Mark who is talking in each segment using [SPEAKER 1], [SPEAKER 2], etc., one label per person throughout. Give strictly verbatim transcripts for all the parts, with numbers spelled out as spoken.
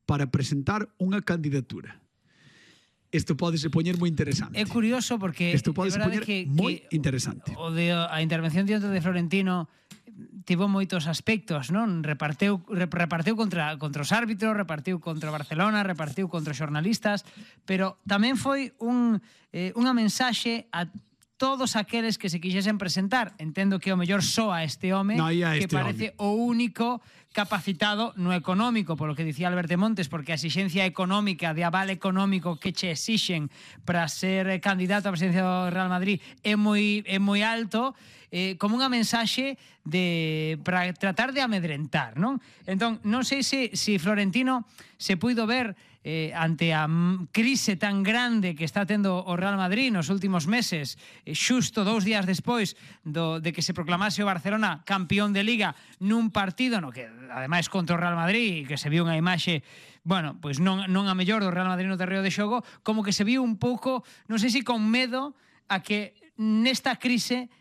[SPEAKER 1] para presentar unha candidatura. Isto pode se poñer moi interesante.
[SPEAKER 2] É curioso porque
[SPEAKER 1] isto pode se poñer
[SPEAKER 2] que,
[SPEAKER 1] moi
[SPEAKER 2] que
[SPEAKER 1] interesante.
[SPEAKER 2] O de a intervención diante de Florentino tivo moitos aspectos, non? Reparteu reparteu contra contra os árbitros, repartiu contra o Barcelona, repartiu contra os xornalistas, pero tamén foi un eh, unha mensaxe a todos aqueles que se quixesen presentar. Entendo que o mellor soa este home
[SPEAKER 1] no,
[SPEAKER 2] que
[SPEAKER 1] este
[SPEAKER 2] parece
[SPEAKER 1] home.
[SPEAKER 2] o único capacitado no económico, polo que dicía Alberto Montes, porque a exigencia económica, de aval económico que che exixen para ser candidato á presidencia do Real Madrid é moi é moi alto, eh, como unha mensaxe de para tratar de amedrentar, non? Entón, non sei se, se Florentino se puido ver eh, ante a crise tan grande que está tendo o Real Madrid nos últimos meses, eh, xusto dous días despois do, de que se proclamase o Barcelona campeón de Liga nun partido no que ademais contra o Real Madrid, que se viu unha imaxe, bueno, pois non, non a mellor do Real Madrid no terreo de xogo, como que se viu un pouco, non sei se con medo a que nesta crise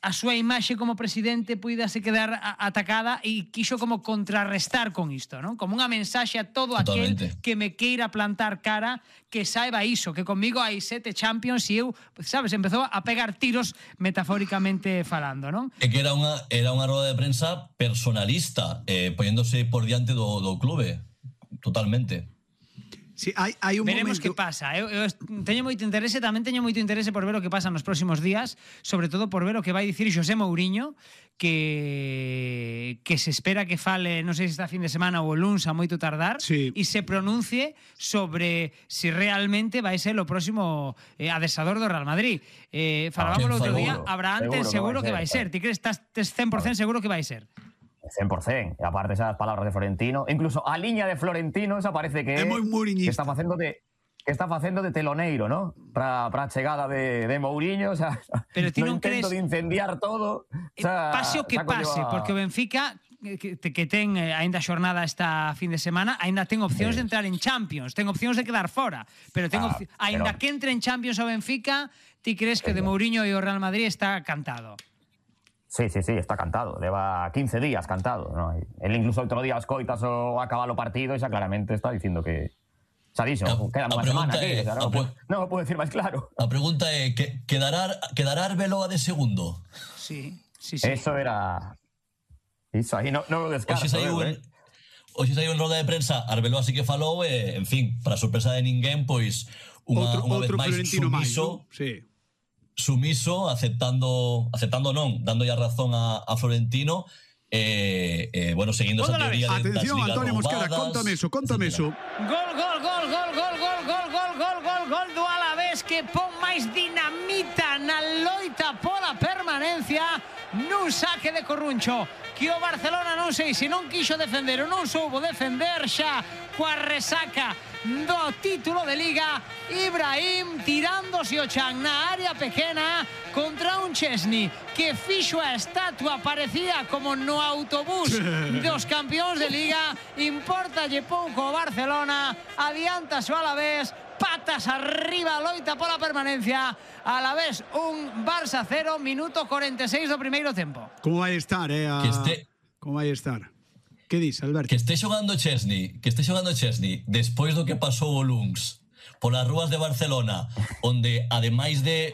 [SPEAKER 2] a súa imaxe como presidente puidase quedar atacada e quixo como contrarrestar con isto, non? Como unha mensaxe a todo aquel
[SPEAKER 3] Totalmente.
[SPEAKER 2] que me queira plantar cara, que saiba iso, que conmigo hai sete Champions e eu, sabes, empezou a pegar tiros metafóricamente falando, non?
[SPEAKER 3] É que era unha, era unha roda de prensa personalista, eh, poñéndose por diante do, do clube. Totalmente.
[SPEAKER 1] Sí, hai, hai un
[SPEAKER 2] Veremos
[SPEAKER 1] momento...
[SPEAKER 2] que pasa. Eu, eu teño moito interese, tamén teño moito interese por ver o que pasa nos próximos días, sobre todo por ver o que vai dicir José Mourinho, que que se espera que fale, non sei se esta fin de semana ou o luns a moito tardar,
[SPEAKER 1] sí.
[SPEAKER 2] e se pronuncie sobre si realmente vai ser o próximo eh, adestrador do Real Madrid. Eh, falábamos ah, outro día, Abraham, ten seguro que vai ser. Ti crees, estás cen por cento seguro que vai ser?
[SPEAKER 4] cen por cento. E aparte esas palabras de Florentino, incluso a liña de Florentino, esa parece que
[SPEAKER 1] é moi
[SPEAKER 4] que está facendo de que está facendo de teloneiro, ¿no? Para para a chegada de de Mourinho, o sea,
[SPEAKER 2] pero ti non, non
[SPEAKER 4] intento
[SPEAKER 2] crees
[SPEAKER 4] de incendiar todo, o sea,
[SPEAKER 2] pase o que pase, a... porque o Benfica que, que ten eh, aínda xornada esta fin de semana, aínda ten opcións sí. de entrar en Champions, ten opcións de quedar fora, pero ten ah, aínda pero... que entre en Champions o Benfica, ti crees que sí. de Mourinho e o Real Madrid está cantado?
[SPEAKER 4] Sí, sí, sí, está cantado. Lleva quince días cantado, ¿no? Él incluso otro día escoitas o acaba o partido y ya claramente está diciendo que... Se ha dicho, no, queda unha semana aquí,
[SPEAKER 3] é,
[SPEAKER 4] o sea, no, pre... non o puedo decir máis claro.
[SPEAKER 3] A pregunta é, que, quedará, quedará Arbeloa de segundo?
[SPEAKER 2] Sí, sí, sí.
[SPEAKER 4] Eso era... Iso aí non no lo descarto.
[SPEAKER 3] Hoxe saiu en, hoxe saiu en roda de prensa, Arbeloa sí que falou, e, en fin, para sorpresa de ninguén, pois, unha,
[SPEAKER 1] outro,
[SPEAKER 3] unha
[SPEAKER 1] outro
[SPEAKER 3] vez máis sumiso...
[SPEAKER 1] Máis, ¿no? Sí.
[SPEAKER 3] sumiso, aceptando aceptando non, dando ya razón a, a Florentino, eh, eh, bueno, seguindo esa teoría de
[SPEAKER 1] atención,
[SPEAKER 3] das ligas
[SPEAKER 1] Antonio Mosquera,
[SPEAKER 3] roubadas,
[SPEAKER 1] contame eso, contame eso.
[SPEAKER 2] Gol, gol, gol, gol, gol, gol, gol, gol, gol, gol, gol do Alavés, que pon máis dinamita na loita pola permanencia nun saque de Corruncho, que o Barcelona non sei se non quixo defender ou non soubo defender xa coa resaca do título de Liga. Ibrahim tirándose o chan na área pequena contra un Chesney que fixo a estatua, parecía como no autobús dos campeóns de Liga. Importalle pouco o Barcelona, adiantase o Alavés, patas arriba, loita pola permanencia. Alavés un, Barça cero, minuto cuarenta e seis do primeiro tempo.
[SPEAKER 1] Como vai estar, eh? A...
[SPEAKER 3] Que este...
[SPEAKER 1] Como vai estar? Que dis, Alberto?
[SPEAKER 3] Que esté xogando Chesney, que esté xogando Chesney despois do que pasou o luns polas rúas de Barcelona, onde ademais de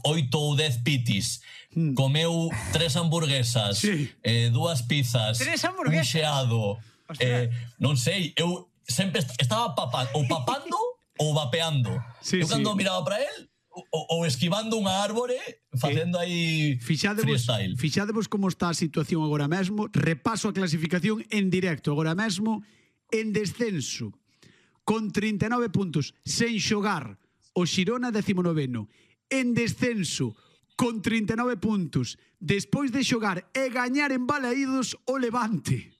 [SPEAKER 3] oito ou dez pitis hmm. comeu tres hamburguesas, sí. eh, dúas pizzas, un xeado, eh, non sei, eu sempre estaba papando, ou papando ou vapeando. Sí, eu cando sí. miraba para él, ou, ou esquivando unha árbore, facendo aí freestyle.
[SPEAKER 1] Fixadevos como está a situación agora mesmo. Repaso a clasificación en directo agora mesmo. En descenso, con trinta e nove puntos, sen xogar, o Xirona decimonoveno. En descenso, con trinta e nove puntos, despois de xogar e gañar en Balaídos o Levante.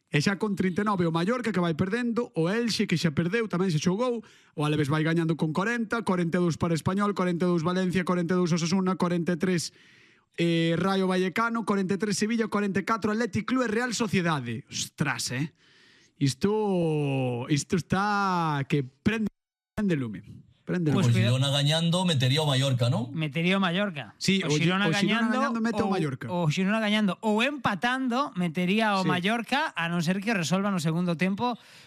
[SPEAKER 1] E xa con trinta e nove o Mallorca, que vai perdendo, o Elxe, que xa perdeu, tamén se xogou, o Alavés vai gañando con corenta, corenta e dous para Español, corenta e dous Valencia, corenta e dous Osasuna, corenta e tres eh, Rayo Vallecano, corenta e tres Sevilla, corenta e catro Athletic Club e Real Sociedade. Ostras, eh? Isto, isto está que prende, prende lume. Prende
[SPEAKER 3] pues o Girona gañando metería o Mallorca, ¿no?
[SPEAKER 2] Metería o Mallorca.
[SPEAKER 1] Sí,
[SPEAKER 2] o Girona,
[SPEAKER 1] o Girona
[SPEAKER 2] gañando,
[SPEAKER 1] gañando mete
[SPEAKER 2] o,
[SPEAKER 1] o Mallorca.
[SPEAKER 2] O Girona gañando ou empatando metería o sí. Mallorca, a non ser que resolvan no segundo tempo